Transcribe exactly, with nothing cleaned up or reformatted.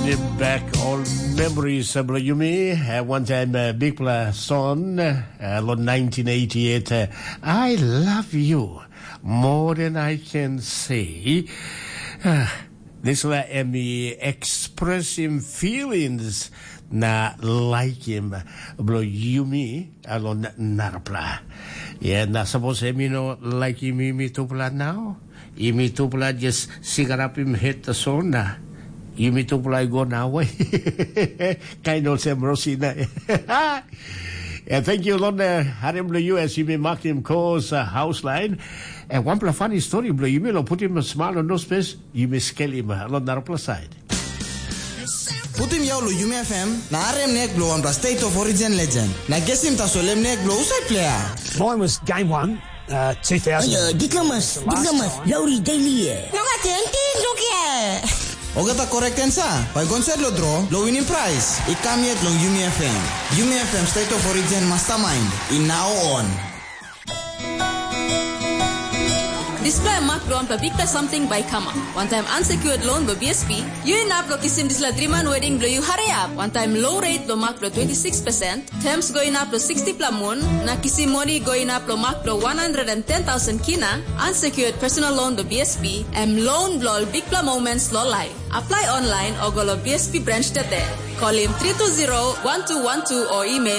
Bring back all memories, uh, bilong yumi. Uh, one time, uh, bikpela song, uh, lo nineteen eighty-eight, uh, "I love you more than I can say." Uh, dispela em i expressing feelings na liking bilong yumi, uh, lo na-, narapela. Yeah, na sapos em i no liking yumi tupela now, yumi tupela just sigarapim het tasol na yumi tupela i go na we. Kain olsem Rosina. Yeah, thank you, Londa. Harim lo U S, yumi makim kos, uh, house line. And wanpela funny story bilong yumi lo putim smile on those face, yumi skelim, uh, lo narapela side. Putim yau lo Yumi F M, na harim nek bilong wanpela State of Origin legend. Na gesim tasol em nek bilong husat player. Mine was game one, uh, two thousand. Ayo, diplomas, diplomas, lauri daily e. Nunga tenti, lukia. Ogata correct answer. Bai gonset lo draw, lo winning prize. I kam yet long Yumi F M. Yumi F M State of Origin Mastermind. I now on. Dispela mak bilong wanpela bikpela samting bai i kamap. Wantaim unsecured loan bilong B S P, yu inap long kisim dispela driman wedding bilong yu hariap. Wantaim low rate bilong mak bilong twenty six percent, terms go inap long sixty pela mun, na kisim moni go inap long mak bilong one hundred and ten thousand kina, unsecured personal loan bilong B S P, em loan bilong ol bikpela moments long life. Apply online o go long B S P branch today. Call him three two zero one two one two o email